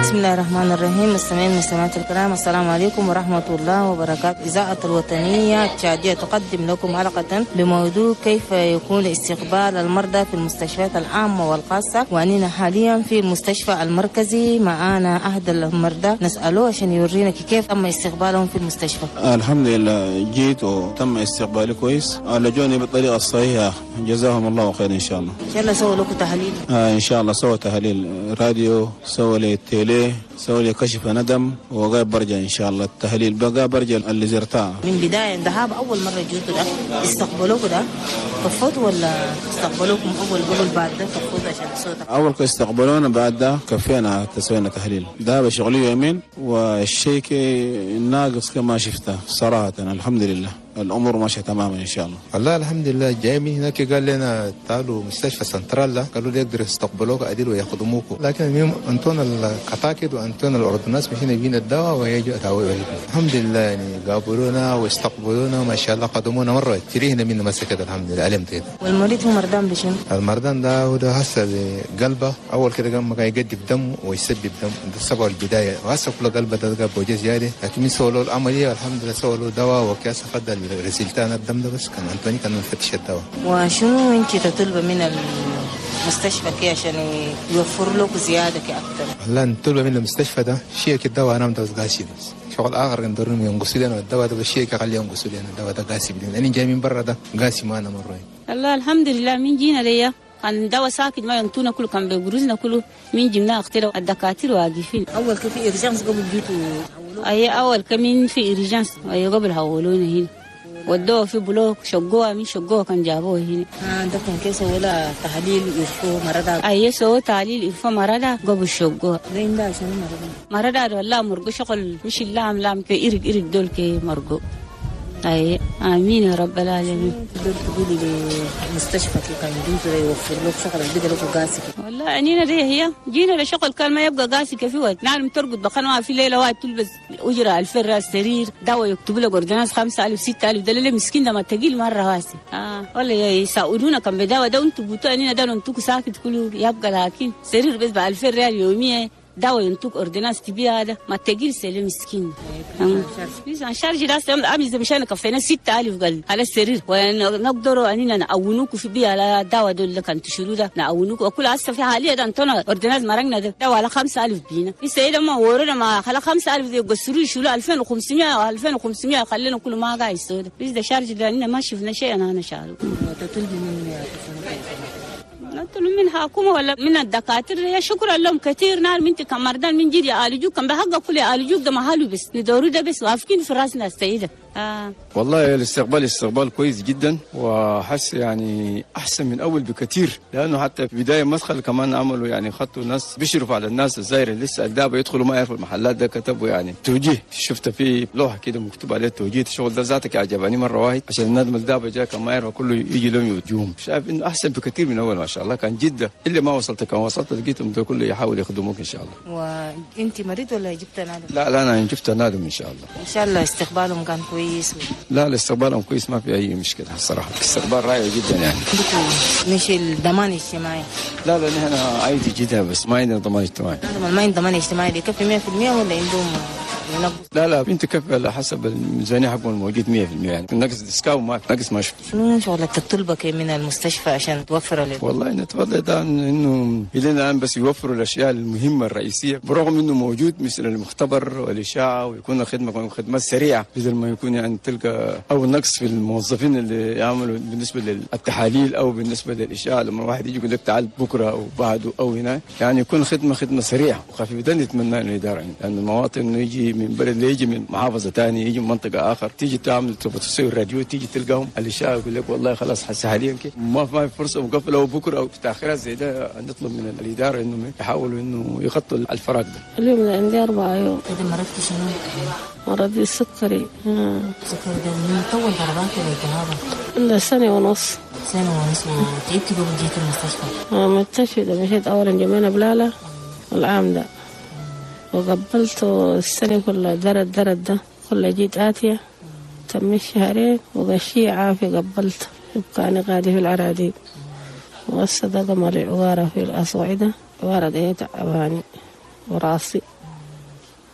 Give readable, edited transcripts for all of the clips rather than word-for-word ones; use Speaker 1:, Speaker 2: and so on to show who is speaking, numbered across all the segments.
Speaker 1: بسم الله الرحمن الرحيم. مستمعين المستمعات الكرام، السلام عليكم ورحمة الله وبركاته. إذاعة الوطنية التشادية تقدم لكم حلقة بموضوع كيف يكون استقبال المرضى في المستشفيات العامة والخاصة. وأننا حاليا في المستشفى المركزي، معانا أحد المرضى نسأله عشان يورينا كيف تم استقبالهم في المستشفى.
Speaker 2: الحمد لله جيت وتم استقبالي كويس، عالجوني بالطريقة الصحيحة، جزاهم الله خير إن شاء الله.
Speaker 1: إن شاء الله سووا لكم تحاليل؟
Speaker 2: إن شاء الله سووا تحاليل راديو، سووا لي télé، سووا لي كشف ندم، وغير برجع إن شاء الله التحليل بقى برجع اللي زرتها.
Speaker 1: من بداية ذهاب أول مرة جيتوا ده استقبلوكوا ده كفوتوا ولا استقبلوكم أول قبل بعد ده كفوتوا عشان الصوت؟
Speaker 2: أول استقبلونا، بعد ده كفينا تسوينا تحليل ده بشغلي يومين، والشيء ناقص كما شفته صراحة. الحمد لله الأمور ماشية تماما إن شاء الله.
Speaker 3: والله الحمد لله. جاي من هناك قال لنا تعالوا مستشفى سنترال، قالوا لي يقدروا يستقبلوك عديل ويخدموك، لكن المهم انطونا الكتاكد وانطونا ال ordonnance مشينا جبنا الدواء ويجوا أتاوي. الحمد لله يعني قابلونا واستقبلونا ما شاء الله، قدمونا مرة تريهنا من مسكت الحمد لله علمت كده.
Speaker 1: والمريض هو مرضان بشنو؟
Speaker 3: المرضان ده هو ده هسه بقلبه أول كده قام يقدم دم ويسبب دم، ده السبب البداية، وهسه كل قلبه ده بوجه زيادة، لكن من سووا له العملية الحمد لله سووا له دواء وكاس فضل رسلتان الدم ده، بس كان أنتوني كان مفتش الدواء.
Speaker 1: وشنو انت تطلب من المستشفى كي عشان يوفر لك زيادة كي أكثر؟
Speaker 3: والله نطلب من المستشفى ده شيء كده أنا متوز قاسي، بس شغل آخر ندورهم ينقصوا لنا الدواء ده، بس شيء خليه ينقصوا لنا الدواء ده قاسي، لأن جاي من برا ده قاسي ما أنا مرة.
Speaker 4: الله الحمد لله من جينا ليا كان دواء ساكت ما ينطونا كله، كان بيجروزنا كله من جبنا اختلوا الدكاترة واقفين.
Speaker 1: أول كيف urgence قبل جيتوا؟
Speaker 4: أي أول كمين في urgence، أي قبل هولونا هنا ودوه في bloc شقوها، من شقوها كان جابوه هنا.
Speaker 1: عندكم كيس ولا تحليل يرفو مرضى؟
Speaker 4: أي سووا تحليل يرفو مرضى قبل شقوها.
Speaker 1: وين ده عشان مرضى؟
Speaker 4: مرضى والله مرقو شغل مش اللام لام كي إرق إرق دول كي مرقو. أي آمين يا رب العالمين.
Speaker 1: تقدر تقولي للمستشفى كي كان يجوز يوفر لك شغل بدل لك قاسي؟
Speaker 4: والله أنينا دي هي جينا لشغل كان ما يبقى قاسي كفي وقت نعلم ترقد بخنوها في ليلة واحد تلبس أجرة 2000 راس سرير دواء يكتبوا لك ordonnance 5000 6000 ده اللي مسكين ده ما تقيل مرة واسي. والله يساعدونا كان بدواء ده أنتوا بوتوا أنينا ده أنتوا ساكت كله يبقى، لكن سرير بس ب 2000 ريال يومية دواء ينطوك ordonnance تبيع هذا ما تقيل سليم مسكين. en charge راس أمي مشان كفينا 6000 قال على السرير ونقدروا أننا نعونوك في بيع على دواء دول اللي كان تشيلوا ده نعونوك وكل هسه في حاليا ده انتونا ordonnance مرقنا ده دواء على 5000 بينا السيدة ما ورونا ما خلا 5000 دي يقصروا يشيلوا 2500 2500 خلينا كل ما قاعد يسود بس ده charge ده أننا ما شفنا شيء. أنا شالو
Speaker 1: تطلبي من
Speaker 4: نطلب من حكومة ولا من الدكاترة يا شكرا لهم كثير. نار من كمردان من جيل يعالجوك كان بحق كل يعالجوك ده محله بس ندوروا ده بس وافقين في راسنا السيدة.
Speaker 5: والله الاستقبال استقبال كويس جدا، وحس يعني احسن من اول بكثير، لانه حتى في بداية مدخل كمان عملوا يعني خطوا ناس بيشرفوا على الناس الزايره لسه الدابة يدخلوا ما يعرفوا المحلات ده، كتبوا يعني توجيه، شفت في لوحة كده مكتوب عليه توجيه الشغل ده ذاتك عجبني مرة واحد عشان الناس الدابة جاء كان ما يعرفوا كله يجي لهم يوجههم. شايف انه احسن بكثير من اول ما شاء الله كان جدا، اللي ما وصلت كان وصلت لقيتهم ده كله يحاول يخدموك ان شاء الله.
Speaker 1: وانت مريض ولا جبت نادم؟
Speaker 5: لا لا انا جبت نادم ان شاء الله.
Speaker 1: ان شاء الله استقبالهم كان كويس.
Speaker 5: لا الاستقبالهم كويس ما في اي مشكلة الصراحة، استقبال رائع جدا يعني.
Speaker 1: مش الضمان الاجتماعي؟
Speaker 5: لا لا نحن عادي جدا بس ما عندنا ضمان اجتماعي.
Speaker 1: ما عندنا ضمان اجتماعي يكفي 100% ولا عندهم ينقص؟
Speaker 5: لا لا انت كفي على حسب الميزانية حقهم الموجود 100% يعني نقص ديسكاو ما نقص ما شفت.
Speaker 1: شنو شغلك تطلبك من المستشفى عشان توفر لك؟
Speaker 5: والله نتفضل ده انه الى الان بس يوفروا الاشياء المهمة الرئيسية، برغم انه موجود مثل المختبر والاشعه ويكون خدمة خدمات سريعة بدل ما يكون يعني تلقى او نقص في الموظفين اللي يعملوا بالنسبة للتحاليل او بالنسبة للاشعه، لما واحد يجي يقول لك تعال بكره او بعده او هنا يعني يكون خدمة سريعة وخفيفة. ده نتمنى انه الادارة يعني لان المواطن انه يجي من بلد يجي من محافظة ثانية يجي من منطقة اخر تيجي تعمل تسوي الراديو تيجي تلقاهم الاشعة يقول لك والله خلاص حس حاليا كده ما في فرصة مقفلة وبكره او تاخيرات زي ده. نطلب من الادارة انه يحاولوا انه يغطوا الفراغ ده.
Speaker 6: اليوم عندي 4 يوم.
Speaker 1: كده مرضت شنو؟
Speaker 6: مرض السكري.
Speaker 1: السكري ده من طول ضربات ولا
Speaker 6: التهاب؟ سنة ونص.
Speaker 1: سنة ونص. وتعبت قبل جيت المستشفى؟
Speaker 6: مستشفى ده مشيت أولا جمينا بلالة العام ده وقبلت السنة كلها درد ده كلها جيت آتية تم شهرين وغشي عافية قبلت يبقى أنا قاعدة في العراديب والصدقة مالي عوارة في الأصوعدة عوارة دي تعباني وراسي.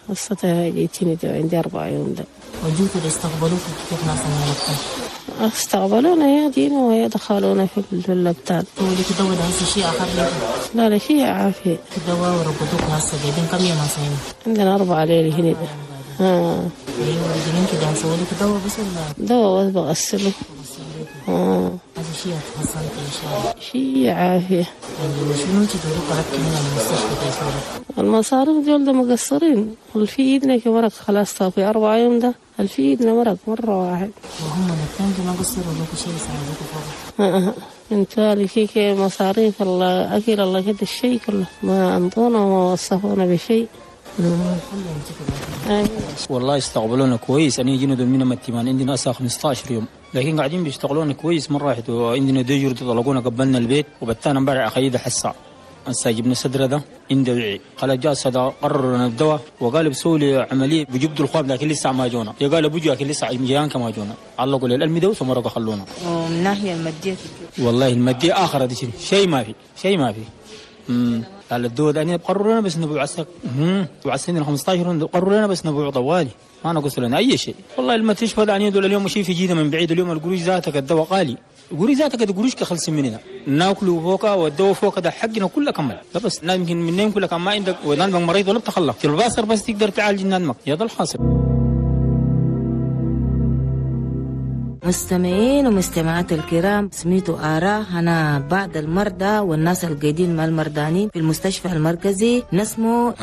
Speaker 6: قصتها جيتني ده عندي 4 يوم ده.
Speaker 1: وجوتوا استقبلوك كيف ناس من
Speaker 6: استقبلونا يا دينا ويا دخلونا في اللبتان.
Speaker 1: ولك دواء هسه شيء آخر لك؟
Speaker 6: لا لا شيء عافية.
Speaker 1: دواء وربطوك هسه قاعدين كم يوم هسه هنا؟
Speaker 6: عندنا 4 ليلة هنا ده.
Speaker 1: ايوه رجلين كده نسوي لك دواء بس ولا؟
Speaker 6: دواء بس بغسله.
Speaker 1: هذا شيء تحسنت ان شاء الله.
Speaker 6: شيء عافية.
Speaker 1: يعني شنو تدوروا طلبت من المستشفى كيف؟
Speaker 6: المصاريف دول ده مقصرين، والفي ايدنا كمرق خلاص في 4 يوم ده الفي ايدنا مرق مرة واحد.
Speaker 1: وهم الاثنين ما قصروا لك شيء يساعدوك فوق.
Speaker 6: انت كي مصاريف الله اكل الله كده الشيء كله ما انطونا وما وصفونا بشيء.
Speaker 7: والله استقبلونا كويس. أنا جينا دول من التيمان عندنا أسا 15 يوم، لكن قاعدين بيشتغلونا كويس مرة واحدة. وعندنا ديجور طلقونا قبلنا البيت وبتانا امبارح أخيدة حسا هسه جبنا صدره ده عنده وعي قال جاء صدا قرروا لنا الدواء وقال بسوي لي عملية بجبدوا الخواب لكن لسه ما جونا. يا قال بوجو لكن لسه جيان كما جونا علقوا لي الألمي ده ثم رجعوا خلونا.
Speaker 1: ومن ناحية المادية
Speaker 7: والله المادية آخر هذا شيء ما في شيء ما في. قال الدواء ده قرروا لنا بس نبيع عسك وعسين 15 قرروا لنا بس نبيع طوالي ما نقص لنا اي شيء. والله المستشفى ده يعني دول اليوم شيء في جيده من بعيد. اليوم القروش ذاتك الدواء غالي، القروش ذاتك القروش كخلص مننا ناكله فوقا والدواء فوقا ده حقنا كله كمل. لا بس يمكن منين كله كان ما عندك ونادمك مريض ولا بتخلى في الباصر بس تقدر تعالج نادمك يا ده الحاصل.
Speaker 1: مستمعين ومستمعات الكرام، سميتوا آراء أنا بعض المرضى والناس القايدين مع المرضانين في المستشفى المركزي نسمو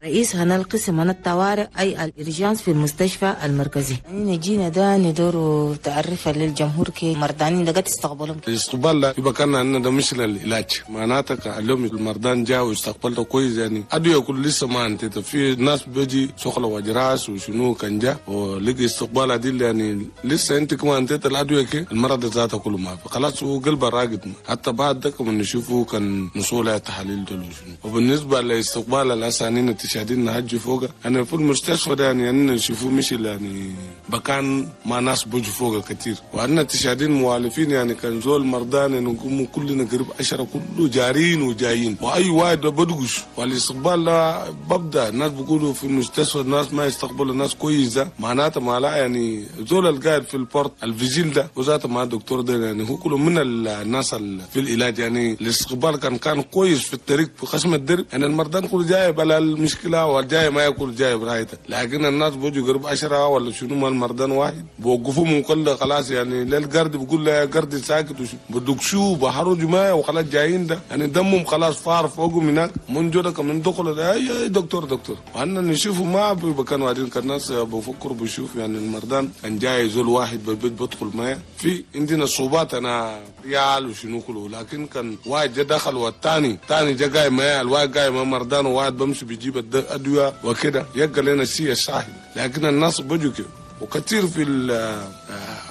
Speaker 1: رئيس هنا القسم هنا الطوارئ أي ال urgence في المستشفى المركزي. يعني جينا ده ندور تعرفة للجمهور كي مرضانين ده قد استقبلهم.
Speaker 8: الاستقبال لا يبقى كان عندنا ده مش للعلاج، معناتك اليوم المرضان جاء واستقبلته كويس. يعني أدوية كل لسه ما انت في ناس بيجي شغله وجراس وشنو كان جاء ولقي استقبال عديل. يعني لسه انت كمان انت الادوية كي المرض ذاته كله ما في خلاص هو قلبه راقد. حتى بعد ده كمان نشوفه كان نصوله تحاليل دول وشنو. وبالنسبة لاستقبال الاسانين التشادين نهج فوق انا في المستشفى ده يعني نشوفه مش يعني بكان ما ناس بوج فوق كثير. وعندنا التشادين موالفين يعني كان زول مرضان نقوم كلنا قريب 10 كله جارين وجايين واي واحد بدقش. والاستقبال لا ببدا الناس بيقولوا في المستشفى الناس ما يستقبلوا الناكويس كويسة معناته ما لا يعني زول القاعد في ال porte ال vigile ده وذاته مع الدكتور ده يعني هو كله من الناس في العلاج. يعني الاستقبال كان كويس في الطريق في خشم الدرب. يعني المرضان كله جاي بلا المشكلة والجاي ما ياكل جاي برايته، لكن الناس بيجوا قرب 10 ولا شنو ما المرضان واحد بوقفوا من كله خلاص. يعني للقرد بيقول له يا قرد ساكت بدك شو بحروا جماعة وخلاص جايين ده يعني دمهم خلاص فار فوقهم هناك من جودك من دخل ده يا دكتور دكتور. وأنا نشوفه ما بكانوا قاعدين كان الناس بفكروا بشوف يعني المرضان كان جاي زول واحد بالبيت بدخل معايا في عندنا صعوبات انا ريال وشنو كله، لكن كان واحد جا دخل والثاني ثاني جا جاي معايا الواحد جاي مع مرضان وواحد بمشي بيجيب الادوية وكده يبقى لنا الشيء الصحي. لكن الناس بيجوا كده وكثير في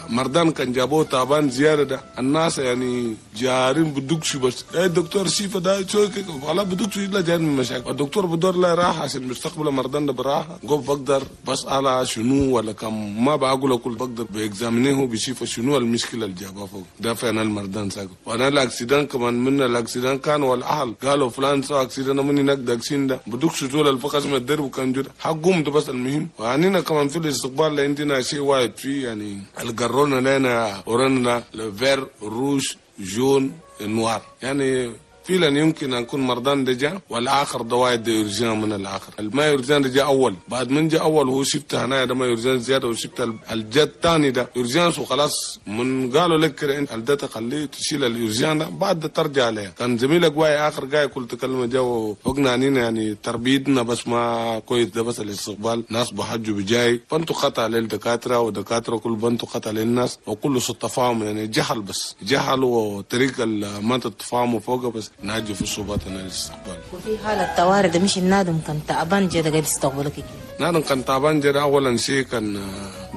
Speaker 8: المرضان كان جابوه تعبان زيادة ده الناس يعني جارين بدوكش بس اي دكتور شيفة ده شو والله بدوكش الا جاي من مشاكل. الدكتور بدور له راحة عشان مستقبل المرضان ده براحة جو بقدر بس على شنو ولا كم ما بقول كل بقدر ب examiner ه بيشوف شنو المشكلة اللي جابها فوق ده فعلا المرضان ساكت. وانا ال accident كمان من ال accident كان والاهل قالوا فلان سوى accident من هناك داكسين ده بدوكش زول الفقس من الدرب وكان جود حقهم ده بس المهم. وعنينا كمان في الاستقبال عندنا شيء واحد فيه يعني القرونا لنا ورانا vert rouge jaune noir يعني فعلا يمكن أن يكون مرضان دجا والآخر دواء ده urgent من الآخر. الما urgent دجا أول بعد من جا أول هو شفت هنا ده ما urgent زيادة وشفت الجد الثاني ده urgent وخلاص من قالوا لك كده أنت الده تخليه تشيل ال urgent ده بعد ده ترجع عليه. كان زميلك واي آخر جاي كل تكلمة جا وفوقنا عنينا يعني تربيتنا بس ما كويس ده بس الاستقبال ناس بحجوا بجاي بنتو خطأ للدكاترة ودكاترة كل بنتو خطأ للناس وكله سوء تفاهم يعني جهل بس جهل وطريقة ما تتفاهموا فوقه بس ناجي في صعوبات الاستقبال.
Speaker 1: وفي حالة طوارئ ده مش النادم كان تعبان جدا قاعد يستقبلك.
Speaker 8: نادم كان تعبان جدا أولا شيء كان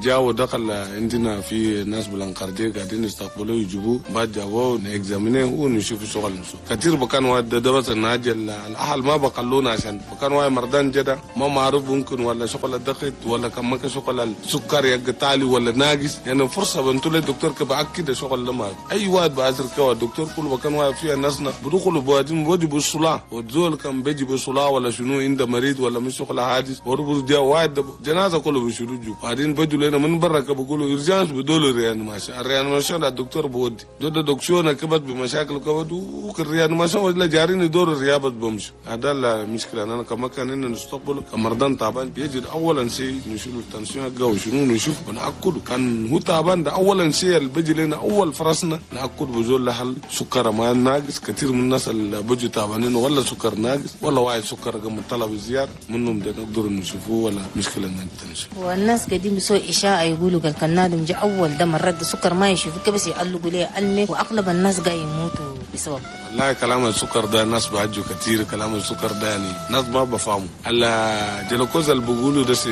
Speaker 8: جاء ودخل عندنا في ناس بالانقرديه قاعدين يستقبلوه يجيبوه بعد جابوه ن examiner ونشوف شغل نسو كثير بكان واحد ده بس الناجل الاهل ما بقلونا عشان بكان واحد مرضان جدا ما معروف ممكن ولا شغل الضغط ولا كم ما شغل السكر يقطع ولا ناقص يعني فرصة بنتو للدكتور كبأكد شغل لما اي واحد بأزر كوا الدكتور كل مكان واحد فيها ناسنا بدخلوا بوادين بودي بالصلاة والزول كان بيجي بالصلاة ولا شنو عند مريض ولا مش شغل حادث وربط جا واحد جنازه كله بيشيلوا جو بعدين بدوا لنا من برا بيقولوا urgence بدول réanimation ال réanimation الدكتور بودي دول دكتور كبت بمشاكل كبت وك ال réanimation ولا جارين يدور الرياضة بمشي هذا المشكلة. انا كما كان إن نستقبل كمرضان تعبان بيجي اولا شيء نشيل ال tension حقه وشنو نشوف ونأكله كان هو تعبان ده اولا شيء اللي بيجي لنا اول فرصنا نأكل بزول لحل سكر ما ناقص. كثير من الناس اللي بيجوا تعبانين ولا سكر ناقص ولا واحد سكر قام طلب زيادة منهم ده نقدر نشوفوه ولا مشكلة نتنشوف.
Speaker 1: والناس قديم بيسوي اشاعة يقولوا قال كان نادم جا اول ده مرة سكر ما يشوفك بس يقلقوا ليه ألمي واغلب الناس جاي يموتوا بسبب ده.
Speaker 8: والله كلام السكر ده الناس بعجوا كثير كلام السكر ده يعني ناس ما بفهموا. هلا جلوكوز اللي بيقولوا ده 0.5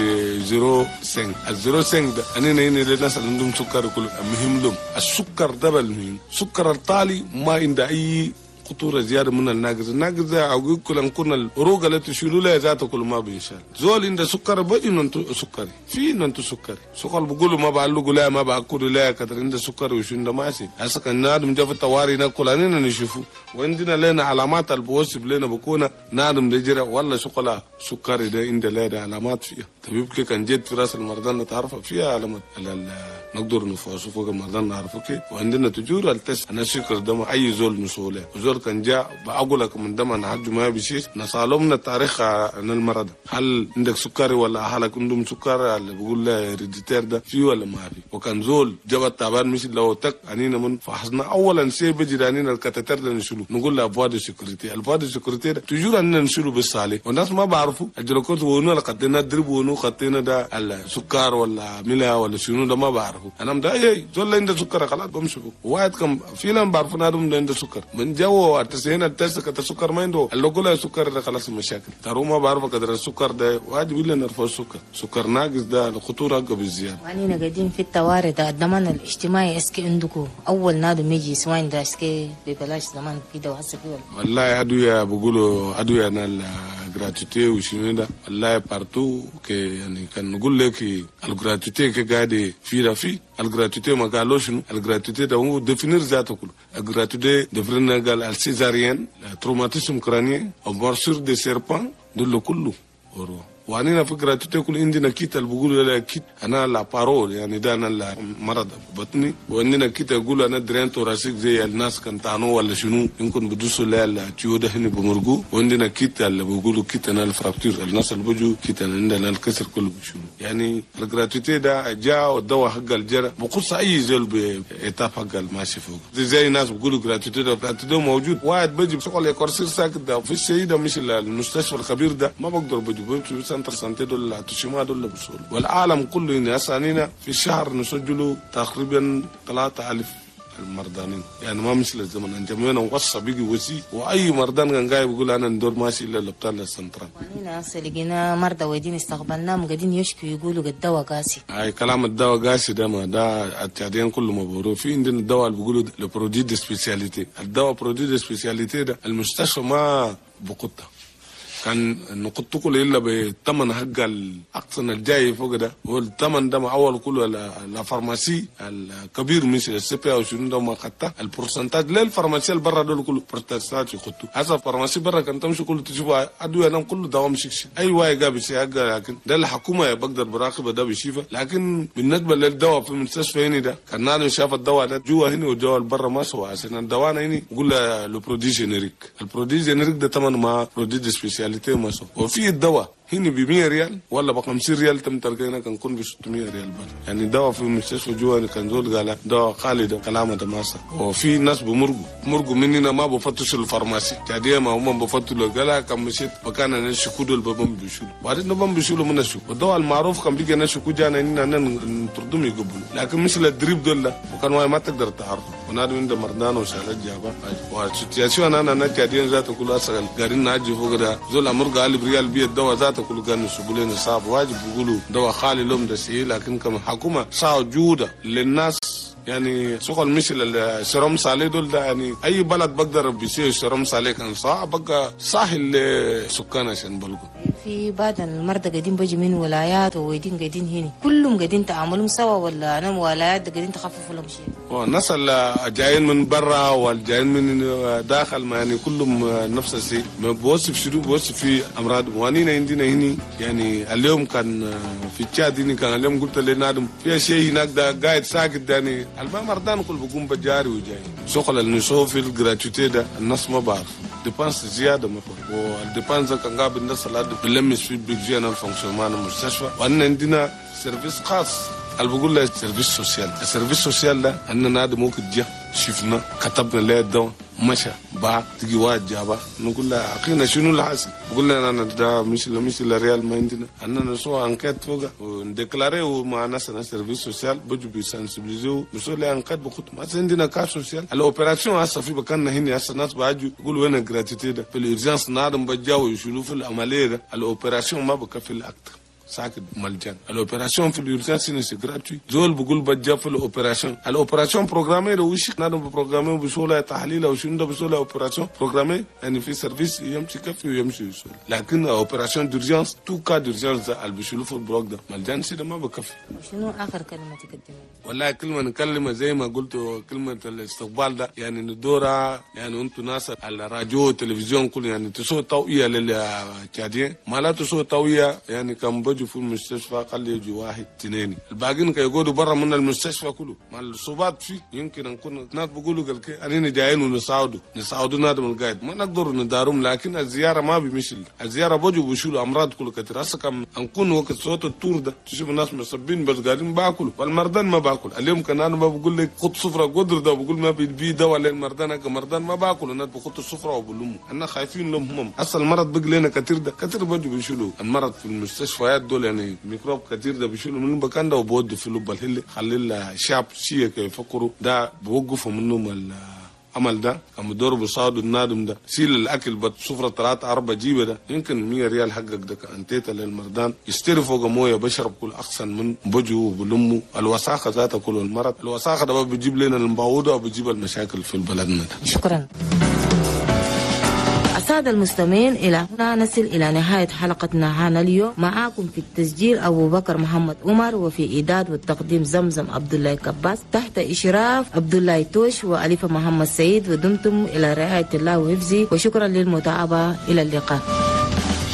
Speaker 8: ال 0.5 ده انا هنا للناس اللي عندهم سكر كله مهم لهم السكر ده بالمهم سكر الطالي ما عنده اي خطورة زيادة من الناقص. الناقص ده اقول كل كنا الروق اللي تشيلوا لها ذاته كل ما بينشال زول عنده سكر بجي ننتو سكري في ننتو سكري سكر بقولوا ما بعلقوا لا ما باكلوا لا كتر عنده سكر وشو عنده ماشي هسه كان نادم جا في الطوارئ ناكل اننا نشوفه وعندنا لنا علامات البوصف لنا بكون نادم ده ولا شغله سكري ده عنده لا ده علامات فيها طبيب كان جيت في راس المرضى نتعرف فيها علامات نقدر نفحصه فوق المرضى نعرفه كيف وعندنا تجور ال test انا سكر دم اي زول مسؤول زول كان جاء بقول لك من دم انا حج ما بيشيش نسالهم التاريخ عن المرض هل عندك سكري ولا اهلك عندهم سكر اللي بقول له héréditaire ده في ولا ما في. وكان زول جاب التعبان مش لو تك انينا من فحصنا اولا شيء بيجي انينا ال cathéter ده نشيله نقول له voie de sécurité ال voie de sécurité ده toujours اننا نشيله بالصالح والناس ما بعرفوا الجلوكوز ونو خدينا drip ونو خدينا ده السكر ولا ملا ولا شنو ده ما بعرفوا انا مدا اي زول عنده سكر خلاص بمشي واحد كم في لهم بعرفوا نادم عنده سكر من جو التسعين التسعة السكر ما عنده اللي قول السكر ده خلاص المشاكل ترى ما بعرف قدر السكر ده واجب الا نرفع السكر سكر ناقص ده الخطورة اقوى بالزيادة.
Speaker 1: وانينا قاعدين في الطوارئ ده الضمان الاجتماعي est-ce que عندكم اول نادم يجي soins ده est-ce que ببلاش زمان كده وهسه في
Speaker 8: والله ادوية بقولوا ادوية انا ال gratuité وشنو ده والله partout كي يعني كان نقول لك ال gratuité كي قاعد في ده في ال gratuité ما قالوا شنو ال gratuité ده هو définir ذاته كله ال gratuité définir قال ال césarienne traumatisme crânien او morsure de serpent دول كله ورو وانينا في gratuité كل عندنا kit اللي بيقولوا لا kit انا la paro يعني ده انا المرض بطني وعندنا kit يقولوا انا drain thoracique زي الناس كان تانو ولا شنو يمكن بدوسوا لا ال tuyau ده هنا بمرقو وعندنا kit اللي بيقولوا kit انا ال fracture الناس اللي بيجوا kit انا عندنا الكسر كله بشنو يعني ال gratuité ده جاء والدواء حق الجرى بقص اي زول ب étape حق الماشي فوق زي الناس بيقولوا gratuité ده gratuité موجود واحد بيجي بشغل يكرسي ساكت ده في الشيء ده مش المستشفى الخبير ده ما بقدر بيجي بمشي centre santé دول تشيما دول بسهولة والعالم كله إن أسانينا في الشهر نسجلوا تقريبا 3000 المرضانين يعني ما مثل الزمن انجمينا وصى بيجي وسي واي مرضان كان جاي بيقول انا ندور ماشي الا l'hôpital ال central.
Speaker 1: وانينا هسه لقينا مرضى ويدين استقبلناهم قاعدين يشكوا يقولوا الدواء قاسي.
Speaker 8: اي كلام الدواء قاسي ده ما ده التعدين كله مبرور في عندنا الدواء اللي بيقولوا le produit de spécialité الدواء produit de spécialité ده المستشفى ما بقطه كان نقطة كله إلا بالثمن حق الأقصى الجاي فوق ده هو الثمن ده أول كله la pharmacie الكبير مثل ال CPA أو شنو ده ما خدته ال pourcentage لا ال pharmacie اللي برا دول كله pourcentage يخطوا هذا ال pharmacie برا كان تمشي كله تشوف أدوية نام كله دوام شكش أي واي جاب شيء لكن ده الحكومة بقدر براقبة ده بيشيفه. لكن بالنسبة للدواء في المستشفى هنا ده كان نادم شاف الدواء ده جوا هنا والدواء برا ما سوى عشان الدواء هنا يقول le produit générique ال produit générique ده ثمن ما produit spécialité وفي الدواء هنا ب 100 ريال ولا ب 50 ريال تم تلقينا كان كون ب 600 ريال بل. يعني دواء في المستشفى جوا كان زول قال دواء خالي ده كلامه ده ماسا وفي ناس بمرقوا مننا ما بفتشوا ال pharmacie تعديه ما هم بفتشوا قال كان مشيت مكان انا شكودوا البابم بيشولوا بعدين نبم بيشولوا من الشوك والدواء المعروف كان بيجي انا شكو جانا اننا نطردهم يقبلوا لكن مثل ال drip دول وكان ما تقدر تعرفه ونادم عند مرضان وشالت جابا و situation انا نتعدين ذاته كل اسال قارين ناجي فوق ده زول امر قال بريال بي الدواء ذات ذاته كل كان يسبوا صعب واجب بيقولوا دواء خالي لهم ده سيء، لكن كمان حكومة صعب جوده للناس. يعني شغل مثل ال sérum salé دول ده، يعني اي بلد بقدر بيسوي sérum salé كان صعب بقى سهل لسكان عشان بلقوا.
Speaker 1: في بعض المرضى قاعدين بيجي من ولايات وقاعدين قاعدين هنا كلهم قاعدين تعاملهم سوا، ولا انا ولايات قاعدين تخففوا لهم شيء؟
Speaker 8: والناس اللي جايين من برا والجايين من داخل ما يعني كلهم نفس الشيء، ما بوصف شنو بوصف في امراض. وانينا عندنا هنا يعني اليوم كان في تشاد هنا كان اليوم قلت لنادم في شيء هناك ده قاعد ساكت يعني المرضان كل بقوم بجاري وجاي شغل اللي في ال gratuité ده الناس ما بعرف dépenses زيادة ما فوق، وال dépenses كان قابل الناس اللي بلمس في budget fonctionnement المستشفى. وأن عندنا service خاص اللي بقول له service social. ال service social ده أن نادي ممكن جه شفنا كتبنا له الدواء مشى باع تجي واحد جابه نقول له اخينا شنو اللي حاصل؟ بقول لنا انا ده مش الريال ما عندنا، اننا نسوي enquête فوق ون déclarer مع ناس service social بجوا بي sensibiliser و نسوي له enquête بخط ما عندنا cas social. ال opération هسه في مكاننا هنا هسه الناس بيجوا يقولوا وين ال gratuité ده في ال urgence نادم بجاوا يشيلوا في العملية ده ال opération ما بكفي الاكتر ساكت ملجان. ال opération في ال urgence c'est gratuit زول بقول بجا في ال opération، ال opération programmée لو وش نادم programmée بسهولة تحليل او شنو ده بسهولة opération programmée يعني في service يمشي كفي ويمشي يسول، لكن opération d'urgence tout cas d'urgence اللي بيشيلوا في ال bloc ده ملجان سيده ما بكفي.
Speaker 1: شنو اخر كلمة تقدمها؟
Speaker 8: والله كلمة نكلمه زي ما قلت كلمة الاستقبال ده يعني ندورها يعني انتم ناس على الراديو والتلفزيون كله يعني تسوي توعيه للتشاديين ما لا تسوي توعيه يعني كان بجوا في المستشفى خلي يجي واحد اثنين الباقيين كيقعدوا برا من المستشفى كله مع الصوبات فيه يمكن نكون ناس بيقولوا قال كي اننا جايين ونساعدوا نساعدوا نادم القايد ما نقدر ندارهم، لكن الزيارة ما بيمشي الزيارة بجوا بيشيلوا امراض كله كثير. هسه كم نكون وقت صوت التور ده تشوف الناس مصبين بس قاعدين باكلوا والمرضان ما باكل. اليوم كان انا ما بقول لك خد سفره قدر ده بقول ما بي دواء للمرضان مرضان ما باكل الناس بخط السفرة وبلموا انا خايفين لهم هم اصلا المرض بقى لنا كثير ده كثير بجوا بيشيلوا المرض في المستشفيات دول يعني ميكروب كثير ده بيشيلوا من المكان ده وبودوا في لب الهل خلي الشعب شيء يفكروا ده بوقفوا منهم العمل ده كم دور بصادوا النادم ده سيل الاكل بسفره 3 4 جيبه ده يمكن 100 ريال حقك ده انتيتا للمردان يشتري فوق مويه بشرب كل احسن من بجو وبلموا الوساخه ذاتها كل المرض الوساخه ده بيجيب لنا المباوده وبيجيب المشاكل في بلدنا ده.
Speaker 1: شكرا. السادة المستمعين، إلى هنا نصل إلى نهاية حلقتنا هنا اليوم. معاكم في التسجيل أبو بكر محمد عمر، وفي إعداد والتقديم زمزم عبد الله كباس، تحت إشراف عبد الله توش وأليفة محمد سعيد. ودمتم إلى رعاية الله وحفظه، وشكرا للمتابعة. إلى اللقاء.